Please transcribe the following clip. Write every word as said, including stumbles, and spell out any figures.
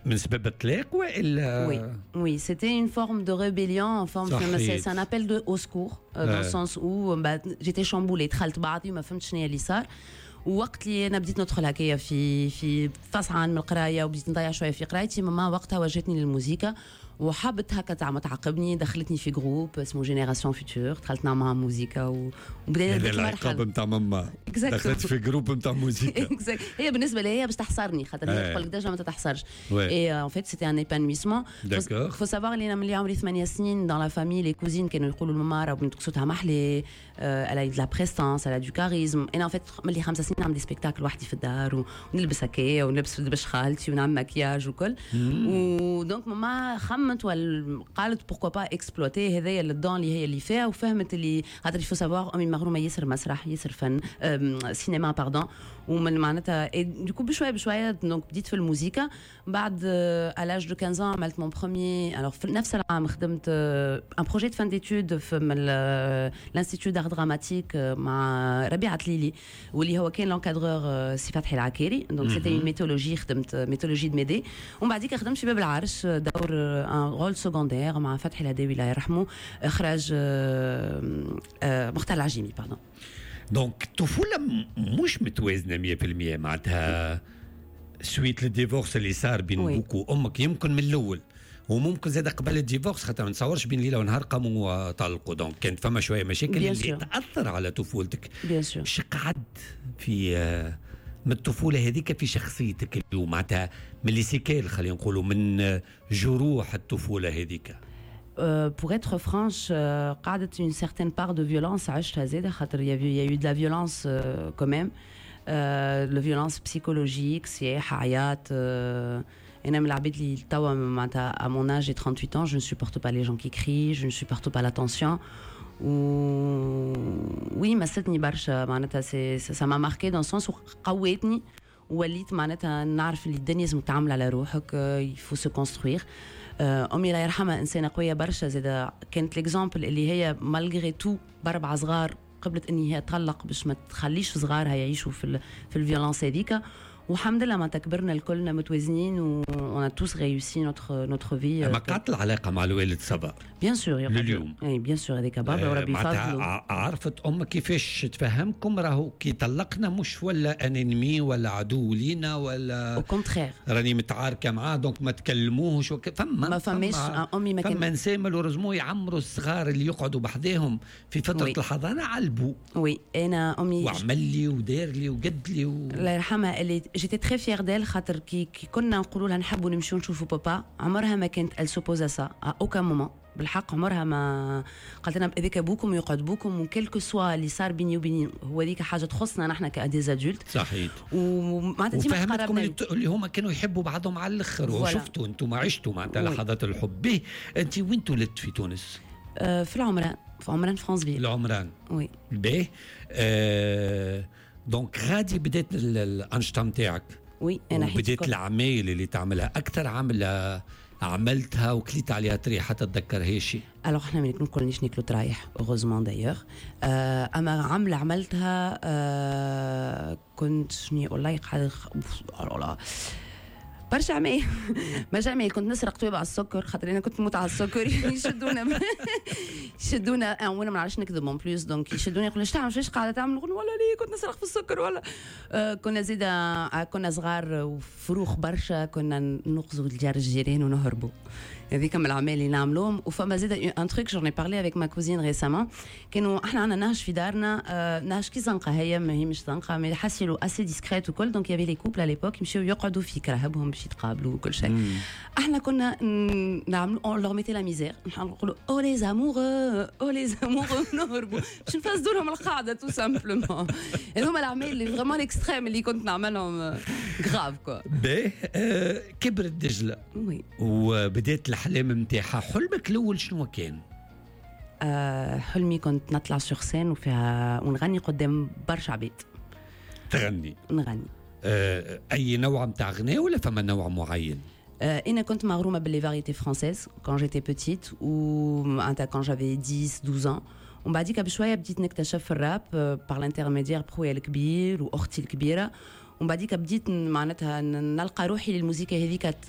من سبب الطلاق والا؟ Oui, oui, c'était une forme de rébellion, en forme, c'est un appel de au secours, euh, dans le sens où bah, j'étais chamboulée، دخلت بعضي وما فهمتش شنو اللي صار. ووقت اللي انا بديت ندخل هكايا في في فصعان من القراية وبديت نضيع شوية في قرايتي، ماما وقتها وجهتني للموسيقى وحبت هكا تعمل تعاقبني، دخلتني في groupe اسمه Génération Future، دخلت نعمل معاهم موزيكا وبدأت هذا العقاب نتاع ماما، دخلت في groupe نتاع موزيكا. هي بالنسبة لي هي باش تحصرني، خاطر هي تقول لك déjà ما تتحصرش، et en fait c'était un épanouissement. faut savoir اللي انا ملي عمري ثمانية سنين، dans la famille les cousines كانوا يقولوا لماما راه بنتك صوتها محلي، elle a de la prestance، elle a du charisme. انا en fait ملي خمسة سنين نعمل des spectacles وحدي في الدار ونلبس هكايا ونلبس دبش خالتي ونعمل مكياج وكل، و donc ماما خممت قالت pourquoi pas exploiter هذايا ال don اللي هي اللي فيها. وفهمت اللي خاطر faut savoir امي مغرومه ياسر مسرح، ياسر فن، سينما pardon، ومن معناتها du coup بشوية بشوية donc بديت في الموسيقى. بعد à l'âge de quinze عملت mon premier، alors في نفس العام خدمت un projet de fin d'études في l'Institut d'art dramatique مع ربيعة تليلي، واللي هو كان l'encadreur سي فتحي العكاري، donc c'était une mythologie، خدمت mythologie de Médée. ومن بعديك خدمت في باب العرش دور un rôle secondaire مع فتحي الهداوي الله يرحمه، اخراج مختار العجيمي pardon. donc الطفولة مش متوازنة مية في المية، معناتها suite لل divorce اللي صار بين بوك وامك يمكن من الاول وممكن زاد قبل ال divorce، خاطر ما نتصورش بين ليلة ونهار قاموا طلقوا، donc كانت فما شوية مشاكل اللي تاثر على طفولتك. bien sûr. قعد في من الطفولة هذيك في شخصيتك اليوم، معناتها من les séquelles، خلينا نقولوا من جروح الطفولة هذيك؟ pour être franche، قعدت une certaine part de violence عشتها زاده، خاطر il y a eu de la violence quand même، la violence psychologique، صياح، عياط. انا من العباد اللي توا معناتها à mon âge، j'ai trente-huit ans، je ne supporte pas les gens qui crient، je ne supporte pas la tension. و oui، مستني برشا، معناتها c'est ça m'a marqué dans le sens قوتني وليت معناتها نعرف اللي الدنيا لازم تعمل على روحك، il faut se construire. امي الله يرحمها انسانه قوية برشا زاده، كانت l'exemple اللي هي malgré tout باربعة صغار قبلت اني هي تطلق باش ما تخليش صغارها يعيشوا في في ال violence هذيك. والحمد لله ما تكبرنا الكلنا متوازنين و on a tous réussi notre notre vie. ما قعدت العلاقة مع الوالد ça va؟ bien sûr. لليوم؟ اي bien sûr، هذيك بابا وربي يفضله. عرفت امك كيفاش تفهمكم راهو كي طلقنا مش ولا un ennemi ولا عدو لينا ولا au contraire. راني متعاركه معاه donc ما تكلموهش؟ فما ما فماش، امي ما كان فما نساء malheureusement يعمروا الصغار اللي يقعدوا بحذاهم في فترة oui. الحضانة على البو. oui، انا امي وعمل لي ودار لي وقد لي و... الله يرحمها اللي j'étais très fière d'elle، خاطر كي, كي كنا نقولوا لها نحبوا نمشيو نشوفوا بابا، عمرها ما كانت elle s'oppose à ça à aucun moment. بالحق عمرها ما قالت لنا، هذاك ابوكم يقعد بوكم، و quel que soit اللي صار بيني وبين هو، هذيك حاجة تخصنا نحن ك des adultes. صحيح. ومعناتها ديما وفهمتكم اللي, اللي هما كانوا يحبوا بعضهم على الاخر، وشفتوا انتم عشتوا معناتها لحظات الحب به. انت وين تولدت في تونس؟ آه، في العمران، في عمران فرانسفيل. العمران. oui. باهي، آه donc غادي بدات الانشطة نتاعك؟ oui، انا بديت العمايل اللي تعملها، اكثر عمله عملتها وكليت عليها طريحه تتذكرها شيء؟ alors احنا ما نقولنيش ناكلو طرايح، heureusement d'ailleurs. اما عمله عملتها، آه كنت شنو والله قاعد لا برشا عمايل، برشا عمايل. كنت نسرق طويبع السكر خاطر انا كنت نموت على السكر. يشدونا يشدونا، وانا ما نعرفش نكذب en plus، donc يشدوني يقولوا ايش تعمل، ايش قاعدة تعمل؟ نقول والله ليه كنت نسرق في السكر. ولا آه كنا زيدا كنا صغار وفروخ برشا، كنا نقزوا الجار الجيران ونهربوا. هذيك من الأعمال اللي نعملوهم. وفما زيد un truc، j'en ai parlé avec ma cousine récemment، كانوا احنا عندنا نهج في دارنا، آه نهج كي زنقه، هي ما هي مش زنقه mais حاسيلو assez discrète وكل، donc il y avait les couples à l'époque يمشيو يقعدوا في كراهبهم باش يتقابلوا وكل شيء. احنا كنا نعملوا on leur mettait la misère، نقولوا oh les amoureux، oh les amoureux، نهربوا باش نفسدوا لهم القاعدة tout simplement. هذوما الاعمال اللي vraiment extrêmes اللي كنت نعملهم، grave quoi. باهي، آه كبرت دجله oui وبدات الاحلام نتاعها. حلمك الاول شنو كان؟ آه حلمي كنت نطلع sur scène وفيها ونغني قدام برشا عباد. تغني؟ نغني. آه اي نوع نتاع غناء ولا فما نوع معين؟ آه انا كنت مغرومه ب les variétés françaises quand j'étais petite و معناتها quand j'avais dix douze ans، ومن بعديك بشوية بديت نكتشف الراب par l'intermédiaire بخويا الكبير واختي الكبيره. ومن بعديك بديت معناتها نلقى روحي للموسيقى هذيك.